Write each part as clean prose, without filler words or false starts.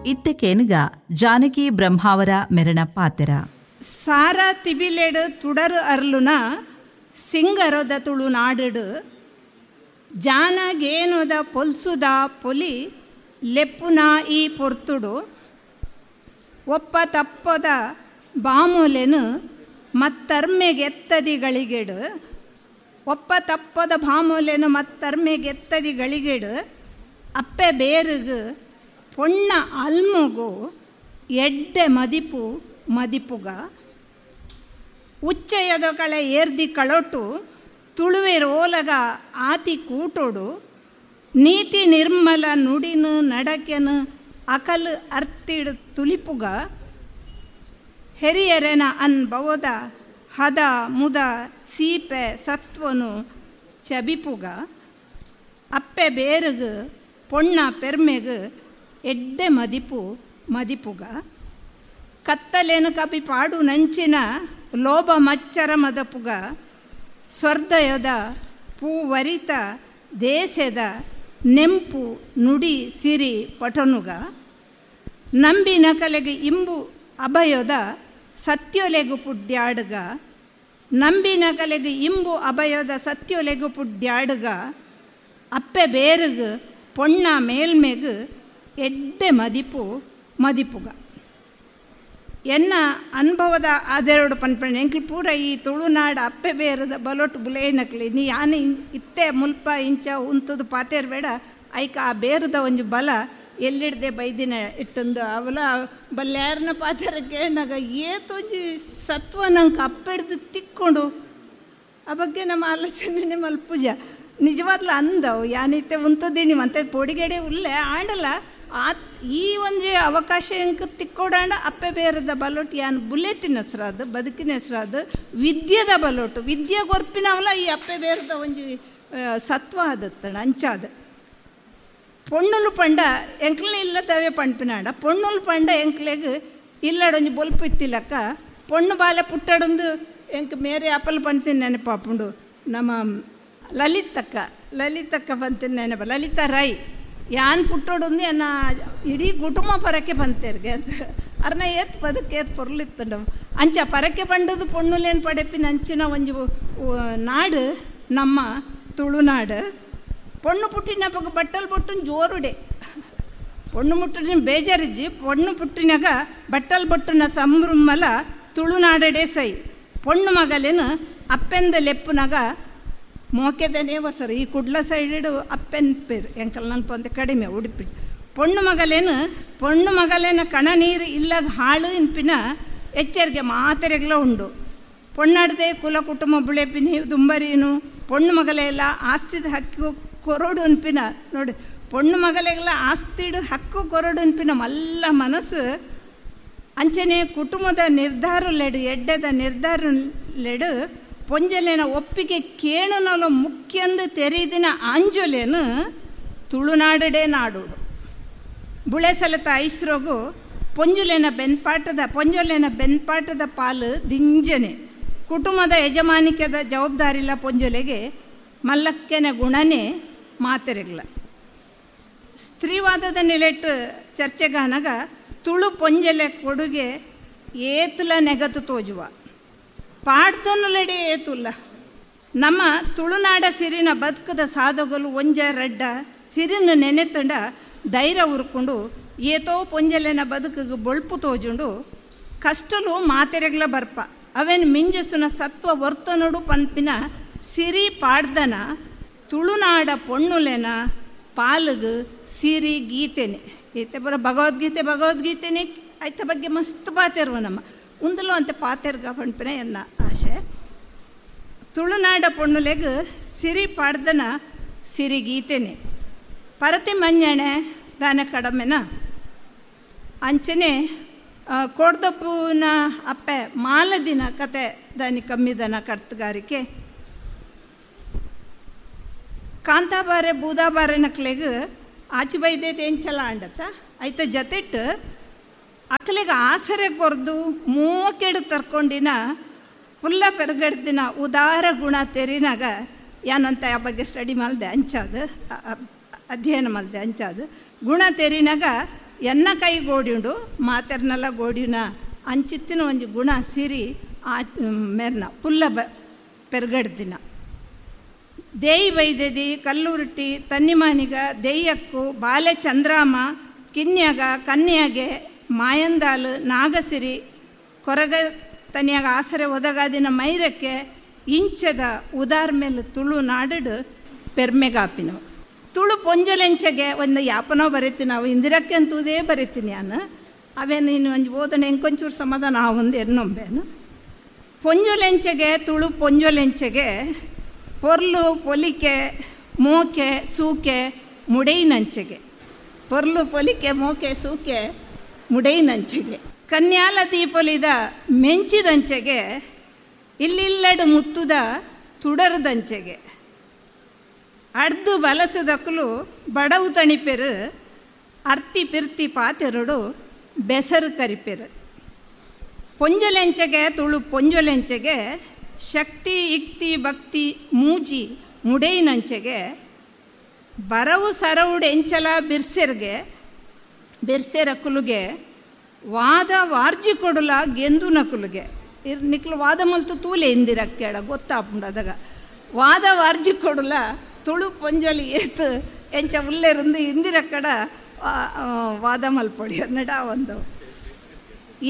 ಇತ್ತೆ ಕೇನುಗ ಜಾನಕಿ ಬ್ರಹ್ಮಾವರ ಮೆರಣ ಪಾತೆರ. ಸಾರ ತಿಬಿಲೆಡು ತುಡರು ಅರ್ಲುನ ಸಿಂಗರದ ತುಳುನಾಡು ಜಾನಗೇನೋದ ಪೊಲ್ಸುದ ಪೊಲಿ ಲೆಪ್ಪುನ ಈ ಪೊರ್ತುಡು ಒಪ್ಪ ತಪ್ಪದ ಬಾಮೂಲೆನು ಮತ್ತರ್ಮೆಗೆತ್ತದಿಗಳಿಗೆಡು ಒಪ್ಪ ತಪ್ಪದ ಬಾಮೂಲೆನು ಮತ್ತರ್ಮೆಗೆತ್ತದಿಗಳಿಗೆಡು ಅಪ್ಪೆ ಬೇರುಗು ಪೊಣ್ಣ ಅಲ್ಮುಗು ಎಡ್ಡೆ ಮದಿಪು ಮದಿಪುಗ ಉಚ್ಚಯದ ಕಳೆ ಏರ್ದಿ ಕಳೊಟ್ಟು ತುಳುವೆರೋಲಗ ಆತಿ ಕೂಟೋಡು ನೀತಿ ನಿರ್ಮಲ ನುಡಿನು ನಡಕೆನು ಅಕಲ್ ಅರ್ತಿಡು ತುಲಿಪುಗ ಹೆರಿಯರೆನ ಅನ್ಭವದ ಹದ ಮುದ ಸೀಪೆ ಸತ್ವನು ಚಬಿಪುಗ ಅಪ್ಪೆ ಬೇರುಗು ಪೊಣ್ಣ ಪೆರ್ಮೆಗು ಎಡ್ಡೆ ಮದಿಪು ಮದಿಪುಗ ಕತ್ತಲೇನು ಕಪಿ ಪಾಡು ನಂಚಿನ ಲೋಭ ಮಚ್ಚರ ಮದಪುಗ ಸ್ವರ್ಧಯದ ಪೂವರಿತ ದೇಶದ ನೆಂಪು ನುಡಿ ಸಿರಿ ಪಟನುಗ ನಂಬಿನ ಕಲೆಗೆ ಇಂಬು ಅಭಯದ ಸತ್ಯೊಲೆಗು ಪುಡ್ಯಾಡುಗ ನಂಬಿನ ಕಲೆಗೆ ಇಂಬು ಅಭಯದ ಸತ್ಯೊಲೆಗು ಪುಡ್ಯಾಡುಗ ಅಪ್ಪೆ ಬೇರುಗು ಪೊಣ್ಣ ಮೇಲ್ಮೆಗು ಎಡ್ಡೆ ಮದಿಪು ಮದಿಪುಗ. ಎನ್ನ ಅನುಭವದ ಅದೆರಡು ಪನ್ಪಣೆ ಎಂಕ್ಲು ಪೂರ ಈ ತುಳುನಾಡು ಅಪ್ಪೆ ಬೇರದ ಬಲೊಟ್ಟು ಬುಲೇನಕ್ಲಿ ನೀ ಯಾನೆ ಇತ್ತೆ ಮುಲ್ಪ ಇಂಚ ಉಂತದು ಪಾತೇರ್ ಬೇಡ ಐಕ ಆ ಬೇರದ ಒಂಜಿ ಬಲ ಎಲ್ಲಿಡ್ದೆ ಬೈದಿನ ಇಟ್ಟಂದು ಅವಲ ಬಲ್ಯಾರನ ಪಾತೆರ ಕೇಳಿನಾಗ ಏತೊಂಜಿ ಸತ್ವ ನಂಗೆ ಅಪ್ಪೆಡ್ದು ತಿಕ್ಕೊಂಡು ಆ ಬಗ್ಗೆ ನಮ್ಮ ಆಲೋಚನೆ ಮಲ್ಪೂಜ ನಿಜವಾದ್ಲ ಅಂದವು ಯಾನಿತ್ತೆ ಉಂತದೀನಿ ಮತ್ತೆ ಪೊಡಿಗೆಡೆ ಉಲ್ಲೆ ಆಂಡಲ ಆ ಈ ಒಂಜಿ ಅವಕಾಶ ಎಂಕ್ ತಿಕ್ಕೋಡಾಂಡ ಅಪ್ಪೆ ಬೇರದ ಬಲೊಟ್ಟು ಯಾನ್ ಬುಲೆತಿನ ಹೆಸ್ರಾದು ಬದುಕಿನ ಹೆಸ್ರಾದು ವಿದ್ಯೆದ ಬಲೊಟ್ಟು ವಿದ್ಯೆ ಗೊರ್ಪಿನವಲ್ಲ ಈ ಅಪ್ಪೆ ಬೇರದ ಒಂಜಿ ಸತ್ವ ಆದತ್ತಣ ಅಂಚಾದ ಪೊಣ್ಣುಲು ಪಂಡ ಎಂಕ್ಲನೆ ಇಲ್ಲದವೇ ಪಂಪಿನಾಡ ಪೊಣ್ಣುಲು ಪಂಡ ಎಂಕ್ಲೆಗ್ ಇಲ್ಲಡೊಂಜಿ ಬೊಲ್ಪು ಇತ್ತಿಲ್ಲಕ್ಕ ಪೊಣ್ಣು ಬಾಲೆ ಪುಟ್ಟಡೊಂದು ಎಂಕ್ ಮೇರೆ ಅಪ್ಪಲ್ ಪಂತೀನಿ ನೆನಪಾಪುಂಡು ನಮ್ಮ ಲಲಿತಕ್ಕ ಲಲಿತಕ್ಕ ಬಂತೀನಿ ನೆನಪ ಲಲಿತಾ ರೈ ಯಾನ್ ಪುಟ್ಟೋಡೊಂದು ಎನ್ನ ಇಡೀ ಕುಟುಂಬ ಪರಕೆ ಬಂತೇರ್ಗೆ ಅರ್ನ ಏತ್ ಬದುಕು ಏತ್ ಪೊರ್ಲಿತ್ತಂಡ ಅಂಚ ಪರಕೆ ಪಂಡದು ಪೊಣ್ಣುಲೇನು ಪಡೆಪಿನ ಅಂಚಿನ ಒಂಜಿ ನಾಡು ನಮ್ಮ ತುಳುನಾಡು. ಪೊಣ್ಣು ಪುಟ್ಟಿನಪಗ ಬಟ್ಟಲು ಬೊಟ್ಟುನ ಜೋರುಡೆ ಪೊಣ್ಣು ಮುಟ್ಟಿನ ಬೇಜಾರಿಜ್ಜಿ ಪೊಣ್ಣು ಪುಟ್ಟಿನಾಗ ಬಟ್ಟಲು ಬೊಟ್ಟುನ ಸಂಭ್ರಮಲ ತುಳುನಾಡಡೆ ಸೈ ಪೊಣ್ಣು ಮಗಲೇನು ಅಪ್ಪೆಂದ ಲೆಪ್ಪುನಾಗ ಮೋಕೆದನೇ ವಸರು ಈ ಕುಡ್ಲ ಸೈಡು ಅಪ್ಪೆನ್ ಪೇರು ಎಂಕಲ್ ನಲ್ಪ ಅಂತ ಕಡಿಮೆ ಉಡುಪಿ ಪೊಣ್ಣು ಮಗಲೇನು ಪೊಣ್ಣು ಮಗಲೇನ ಕಣ ನೀರು ಇಲ್ಲಾಗ ಹಾಳು ಇನ್ಪಿನ ಎಚ್ಚರಿಕೆ ಮಾತೆರೆಗ್ಲ ಉಂಡು ಪೊಣ್ಣಾಡ್ದೆ ಕುಲ ಕುಟುಂಬ ಬುಳೆಪಿನಿ ದುಂಬರೀನು ಪೊಣ್ಣು ಮಗಲೆಲ್ಲ ಆಸ್ತಿದ ಹಕ್ಕು ಕೊರಡು ಅನ್ಪಿನ ನೋಡಿ ಪೊಣ್ಣು ಮಗಲೆಲ್ಲ ಆಸ್ತಿಡು ಹಕ್ಕು ಕೊರಡು ಅನ್ಪಿನ ಮಲ್ಲ ಮನಸ್ಸು ಅಂಚನೆ ಕುಟುಂಬದ ನಿರ್ಧಾರಲೆಡು ಎಡ್ಡೆದ ನಿರ್ಧಾರಲೆಡು ಪೊಂಜಲೇನ ಒಪ್ಪಿಗೆ ಕೇಣುನಲ ಮುಖ್ಯಂದು ತೆರೀದಿನ ಆಂಜೊಲೇನು ತುಳುನಾಡಡೆ ನಾಡೋಡು ಬುಳೆಸಲತ ಐಸ್ರೋಗು ಪೊಂಜುಲೇನ ಬೆನ್ಪಾಟದ ಪಾಲು ದಿಂಜನೆ ಕುಟುಂಬದ ಯಜಮಾನಿಕೆದ ಜವಾಬ್ದಾರಿಲ್ಲ ಪೊಂಜೊಲೆಗೆ ಮಲ್ಲಕ್ಕೆನ ಗುಣನೇ ಮಾತೆರೆಗ್ಲ. ಸ್ತ್ರೀವಾದದ ನೆಲೆಟ್ಟು ಚರ್ಚೆಗಾನಗ ತುಳು ಪೊಂಜಲೆ ಕೊಡುಗೆ ಏತುಲ ನೆಗತು ತೋಜುವ ಪಾಡ್ದೊನ್ನುಲೆಡೆ ಏತುಲ್ಲ ನಮ್ಮ ತುಳುನಾಡ ಸಿರಿನ ಬದುಕದ ಸಾಧುಗಳು ಒಂಜ ರಡ್ಡ ಸಿರಿನ ನೆನೆತಂಡ ಧೈರ್ಯ ಉರ್ಕೊಂಡು ಏತೋ ಪೊಂಜಲೆನ ಬದುಕಿಗೆ ಬೊಳ್ಪು ತೋಜುಂಡು ಕಷ್ಟಲು ಮಾತೆರೆಗ್ಲ ಬರ್ಪ ಅವೇನು ಮಿಂಜಸುನ ಸತ್ವ ವರ್ತನೋಡು ಪನ್ಪಿನ ಸಿರಿ ಪಾಡ್ದನ ತುಳುನಾಡ ಪೊಣ್ಣುಲೆನ ಪಾಲುಗು ಸಿರಿ ಗೀತೆನೆ ಗೀತೆ ಬರೋ ಭಗವದ್ಗೀತೆ ಭಗವದ್ಗೀತೆನೆ ಐತ ಬಗ್ಗೆ ಮಸ್ತ್ ಪಾತೆರ್ವ ನಮ್ಮ ಉಂದಲು ಅಂತ ಪಾತೆರ್ಗ ಪನ್ಪಿನ ಎನ್ನ ಆಶೆ. ತುಳುನಾಡ ಪೊಣ್ಣುಲೆಗ್ ಸಿರಿ ಪಾಡ್ದನ ಸಿರಿ ಗೀತೆನೆ ಪರತಿ ಮಂಜಣೆ ದಾನ ಕಡಮೆನ ಅಂಚನೆ ಕೋಡ್ದಪ್ಪುನ ಅಪ್ಪೆ ಮಾಲದಿನ ಕತೆ ದಾನಿ ಕಮ್ಮಿದನ ಕರ್ತಗಾರಿಕೆ ಕಾಂತಾಬಾರೆ ಬೂದಾಬಾರೆ ನಕ್ಲೆಗ್ ಆಚೆ ಬೈದೇತೆ ಎಂಚಲ ಅಂಡತ್ತ ಐತ ಜತೆಟ್ಟು ಅಕ್ಲೆಗೆ ಆಸರೆ ಕೊರ್ದು ಮೂವಕ್ಕೆಡು ತರ್ಕೊಂಡಿನ ಪುಲ್ಲ ಪೆರ್ಗಡ್ದಿನ ಉದಾರ ಗುಣ ತೆರಿನಾಗ ಯಾನಂತ ಆ ಬಗ್ಗೆ ಸ್ಟಡಿ ಮಲ್ದೆ ಅಂಚಾದು ಅಧ್ಯಯನ ಮಲ್ದೆ ಅಂಚಾದು ಗುಣ ತೆರಿನಾಗ ಎನ್ನ ಕೈ ಗೋಡಿಯುಂಡು ಮಾತೆರ್ನೆಲ್ಲ ಗೋಡಿನ ಅಂಚಿತ್ತಿನ ಒಂಜಿ ಗುಣ ಸಿರಿ ಆ ಮೆರ್ನ ಪುಲ್ಲ ಬ ಪೆರ್ಗಡ್ದಿನ. ದೇಯಿ ಬೈದೆದಿ ಕಲ್ಲುರುಟ್ಟಿ ತನ್ನಿಮಾನಿಗ ದೇಯ್ಯಕ್ಕು ಬಾಲೆ ಚಂದ್ರಾಮ ಕಿನ್ಯಾಗ ಕನ್ಯಾಗೆ ಮಾಯಂದಾಲು ನಾಗಸಿರಿ ಕೊರಗ ತನಿಯಾಗ ಆಸರೆ ಒದಗಾದಿನ ಮೈರಕ್ಕೆ ಇಂಚದ ಉದಾರ್ ಮೇಲೆ ತುಳು ನಾಡಡು ಪೆರ್ಮೆಗಾಪಿನವು. ತುಳು ಪೊಂಜೊಲೆಂಚೆಗೆ ಒಂದು ಯಾಪನೋ ಬರೀತೀನಿ ನಾವು ಇಂದಿರಕ್ಕೆ ಅಂತೂದೇ ಬರೀತೀನಿ ನಾನು ಅವೇ ನೀನು ಒಂಜಿ ಓದನೆ ಎಂಕೊಂಚೂರು ಸಮಾಧಾನ ಒಂದು ಎನ್ನೊಂಬೇನು. ಪೊಂಜೊಲೆಂಚೆಗೆ ತುಳು ಪೊಂಜೊಲೆಂಚೆಗೆ ಪೊರ್ಲು ಪೊಲಿಕೆ ಮೋಕೆ ಸೂಕೆ ಮುಡೈನಂಚೆಗೆ ಪೊರ್ಲು ಪೊಲಿಕೆ ಮೋಕೆ ಸೂಕೆ ಮುಡೈನಂಚೆಗೆ ಕನ್ಯಾಲ ದೀಪೊಲಿದ ಮೆಂಚಿದಂಚೆಗೆ ಇಲ್ಲಿಲ್ಲಡು ಮುತ್ತುದ ತುಡರದಂಚೆಗೆ ಅಡ್ದು ಬಲಸದಕ್ಕಲು ಬಡವು ತಣಿಪೆರು ಅರ್ತಿ ಪಿರ್ತಿ ಪಾತೆರಡು ಬೆಸರು ಕರಿಪೆರು. ಪೊಂಜೊಲೆಂಚೆಗೆ ತುಳು ಪೊಂಜೊಲೆಂಚೆಗೆ ಶಕ್ತಿ ಇಕ್ತಿ ಭಕ್ತಿ ಮೂಜಿ ಮುಡೈನಂಚೆಗೆ ಬರವು ಸರವುಡು ಎಂಚಲ ಬಿರ್ಸೆರ್ಗೆ ಬಿರ್ಸೆರಕುಲುಗೆ ವಾದ ವಾರ್ಜಿ ಕೊಡುಲ ಗೆಂದು ನಕುಲುಗೆ ಇರ್ ನಿಕ್ಲು ವಾದ ಮಲ್ತು ತೂಲೆ ಇಂದಿರಕ್ಕೇಳ ಗೊತ್ತಾಪುಂಡು ಅದಾಗ ವಾದ ವಾರ್ಜಿ ಕೊಡುಲ ತುಳು ಪೊಂಜೊಲಿ ಏತು ಎಂಚ ಉಲ್ಲೆರಂದು ಇಂದಿರಕ್ಕಡ ವಾದ ಮಲ್ಪೊಡಿ ನಡ ಒಂದು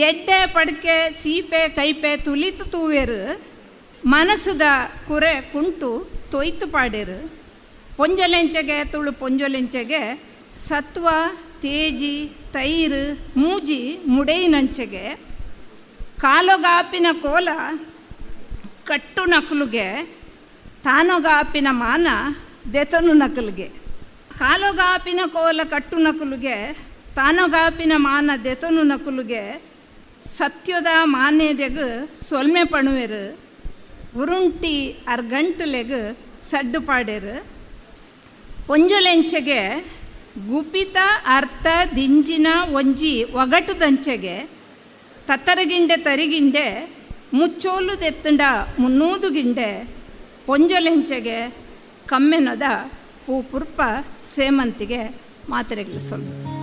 ಎಡ್ಡೆ ಪಡ್ಕೆ ಸೀಪೆ ಕೈಪೆ ತುಲಿತು ತೂವೇರು ಮನಸ್ಸುದ ಕುರೆ ಕುಂಟು ತೊಯ್ತು ಪಾಡೇರು. ಪೊಂಜೊಲೆಂಚೆಗೆ ತುಳು ಪೊಂಜೊಲೆಂಚೆಗೆ ಸತ್ವ ತೇಜಿ ತೈರು ಮೂಜಿ ಮುಡೈನಂಚೆಗೆ ಕಾಲೊಗಾಪಿನ ಕೋಲ ಕಟ್ಟು ನಕಲುಗೆ ತಾನೊಗಾಪಿನ ಮಾನ ದೆತನು ನಕಲಿಗೆ ಕಾಲೊಗಾಪಿನ ಕೋಲ ಕಟ್ಟು ನಕಲುಗೆ ತಾನೊಗಾಪಿನ ಮಾನ ದೆತನು ನಕಲುಗೆ ಸತ್ಯದ ಮಾನ್ಯದೆಗು ಸೊಲ್ಮೆ ಪಣುವೆರು ಉರುಂಟಿ ಅರ್ಗಂಟುಲೆಗು ಸಡ್ಡು ಪಾಡೇರು. ಪೊಂಜೊಲೆಂಚೆಗೆ ಗುಪಿತ ಅರ್ಥ ದಿಂಜಿನ ಒಂಜಿ ಒಗಟುದಂಚೆಗೆ ತತ್ತರಗಿಂಡೆ ತರಿಗಿಂಡೆ ಮುಚ್ಚೋಲು ದೆತ್ತಂಡ ಮುನ್ನೂದು ಗಿಂಡೆ ಪೊಂಜೊಲೆಂಚೆಗೆ ಕಮ್ಮೆನದ ಪೂ ಪುರ್ಪ ಸೇಮಂತಿಗೆ ಮಾತ್ರೆಗಳು ಸೊಲ್ಲು.